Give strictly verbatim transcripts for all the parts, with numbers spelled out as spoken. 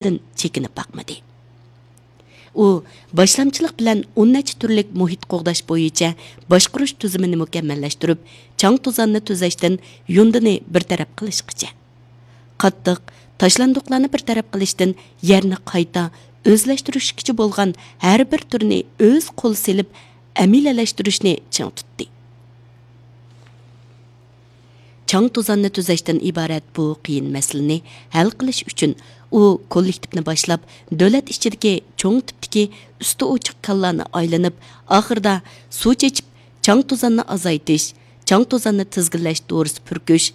ئىشلىرىدىن چېكىنىپ باقمىدى. ئۇ باشلامچىلىق بىلەن ئون نەچچە تۈرلۈك مۇھىت قوغداش بويىچە باشقۇرۇش تۈزۈمىنى مۇكەممەللەشتۈرۈپ، چاڭ توزاننى تۈزەشتىن يۇندىنى بىر تەرەپ قىلىشقىچە، قاتتىق تاشلاندۇقلارنى بىر تەرەپ قىلىشتىن يەرنى قايتا ئۆزلەشتۈرۈشكىچە بولغان ھەر بىر تۈرنى ئۆز قول سېلىپ ئەمەلىيلەشتۈرۈشنى چىڭ تۇتتى. چاڭ توزاننى تۈزەشتىن ئىبارەت بۇ قىيىن مەسىلىنى ھەل قىلىش ئۈچۈن، ئۇ كوللېكتىپنى باشلاپ، دۆلەت ئىچىدىكى چوڭ تىپتىكى ئۈستى ئوچۇق كانلارنى ئايلىنىپ، ئاخىرىدا سۇ چېچىپ، چاڭ توزاننى ئازايتىش، چاڭ توزاننى تىزگىنلەش دورىسى پۈركۈش،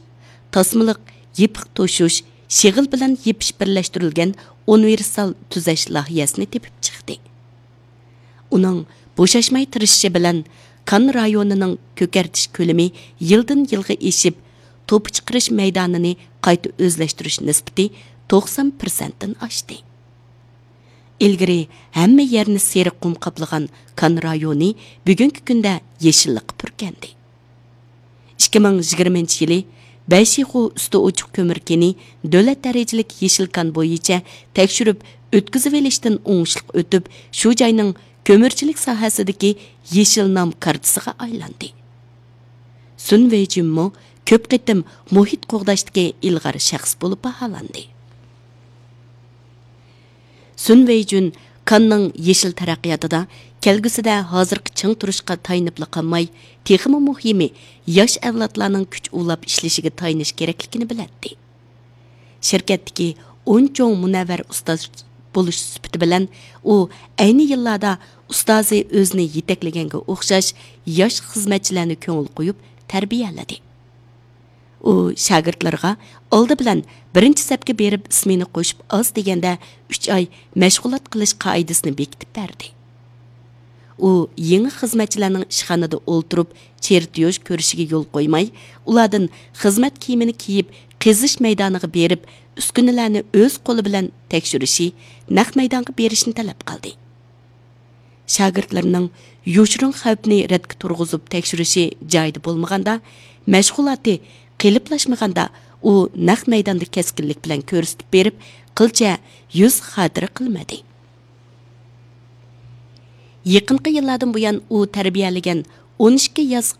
تاسمىلىق يېپىق توشۇش، شېغىل بىلەن يېپىش بىرلەشتۈرۈلگەن ئۇنىۋېرسال تۈزەش لايىھەسىنى تېپىپ چىقتى. ئۇنىڭ بوشاشماي تىرىشىشى بىلەن، كان رايونىنىڭ كۆكەرتىش كۆلىمى يىلدىن يىلغا ئېشىپ، توپا چىقىرىش مەيدانىنى قايتا ئۆزلەشتۈرۈش نىسبىتى توقسان پىرسەنتتىن ئاشتى. ئىلگىرى ھەممە يەرنى سېرىق قۇم قاپلىغان كان رايونى بۈگۈنكى كۈندە يېشىللىققا پۈركەندى. ئىككى مىڭ يىگىرمىنچى يىلى بەيشىخۇ ئۈستى ئوچۇق كۆمۈر كېنى دۆلەت دەرىجىلىك يېشىل كان بويىچە تەكشۈرۈپ ئۆتكۈزۈۋېلىشتىن ئوڭۇشلۇق ئۆتۈپ، شۇ جاينىڭ كۆمۈرچىلىك ساھەسىدىكى يېشىل نام كارتىسىغا ئايلاندى. سۈن ۋېيجۈنمۇ كۆپ قېتىم مۇھىت قوغداشتىكى ئىلغار شەخس بولۇپ باھالاندى. سۈن ۋېيجۈن كاننىڭ يېشىل تەرەققىياتىدا كەلگۈسىدە ھازىرقى چىڭ تۇرۇشقا تايىنىپلا قالماي، تېخىمۇ مۇھىمى، ياش ئەۋلادلارنىڭ كۈچ ئۇلاپ ئىشلىشىگە تايىنىش كېرەكلىكىنى بىلەتتى. شىركەتتىكى ئون چوڭ مۇنەۋۋەر ئۇستاز بولۇش سۈپىتى بىلەن، ئۇ ئەينى يىللاردا ئۇستازى ئۆزىنى يېتەكلىگەنگە ئوخشاش ياش خىزمەتچىلەرنى كۆڭۈل قويۇپ تەربىيەلىدى. ئۇ شاگىرتلىرىغا ئالدى بىلەن بىرىنچى سەپكە بېرىپ ئىسمىنى قوشۇپ ئاز دېگەندە ئۈچ ئاي مەشغۇلات قىلىش قائىدىسىنى بېكىتىپ بەردى. ئۇ يېڭى خىزمەتچىلەرنىڭ ئىشخانىدا ئولتۇرۇپ چېرتيوژ كۆرۈشىگە يول قويماي، ئۇلاردىن خىزمەت كىيىمىنى كىيىپ، قېزىش مەيدانىغا بېرىپ، ئۈسكۈنىلەرنى ئۆز قولى بىلەن تەكشۈرۈشى، نەق مەيدانغا بېرىشنى تەلەپ قىلدى. شاگىرتلىرىنىڭ يوشۇرۇن خەۋپنى رەتكە تۇرغۇزۇپ تەكشۈرۈشى جايىدا بولمىغاندا، مەشغۇلاتى قېلىپلاشمىغاندا، ئۇ نەق مەيداندا كەسكىنلىك بىلەن كۆرسىتىپ بېرىپ، قىلچە يۈز خاتىرە قىلمىدى. يېقىنقى يىللاردىن بۇيان ئۇ تەربىيەلىگەن ئون ئىككى ياش،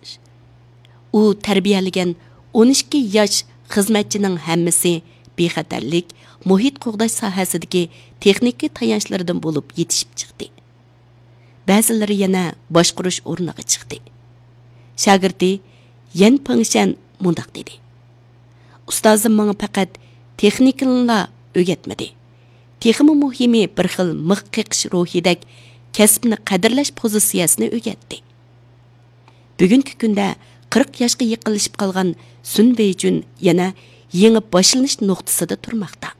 ئۇ تەربىيەلىگەن ئون ئىككى ياش خىزمەتچىنىڭ ھەممىسى بىخەتەرلىك، مۇھىت قوغداش ساھەسىدىكى تېخنىكا تايانچلىرىدىن بولۇپ يېتىشىپ چىقتى. بەزىلىرى يەنە باشقۇرۇش ئورنىغا چىقتى. شاگىرتى يەن پېڭشەن مۇنداق دېدى: ئۇستازىم ماڭا پەقەت تېخنىكىنىلا ئۆگەتمىدى. تېخىمۇ مۇھىمى، بىر خىل مىخ قېقىش روھىدەك كەسىپنى قەدىرلەش پوزىتسىيەسىنى ئۆگەتتى. بۈگۈنكى كۈندە قىرىق ياشقا يېقىنلىشىپ قالغان سۈن ۋېيجۈن يەنە يېڭى باشلىنىش نۇقتىسىدا تۇرماقتا.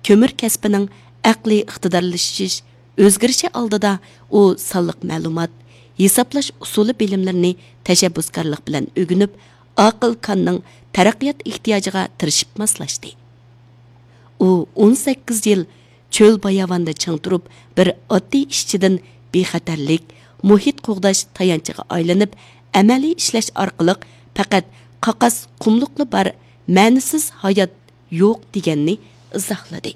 كۆمۈر كەسپىنىڭ ئەقلىي ئىقتىدارلىشىش ئۆزگىرىشى ئالدىدا ئۇ سانلىق مەلۇمات، ھېسابلاش ئۇسۇلى بىلىملىرىنى تەشەببۇسكارلىق بىلەن ئۆگىنىپ، ئاقىل كاننىڭ تەرەققىيات ئېھتىياجىغا تىرىشىپ ماسلاشتى. ئۇ ئون سەككىز يىل چۆل باياۋاندا چىڭ تۇرۇپ، بىر ئاددىي ئىشچىدىن بىخەتەرلىك، مۇھىت قوغداش تايانچىغا ئايلىنىپ، ئەمەلىي ئىشلەش ئارقىلىق پەقەت قاقاس قۇملۇقلا بار، مەنىسىز ھايات يوق دېگەننى ئىزاھلىدى.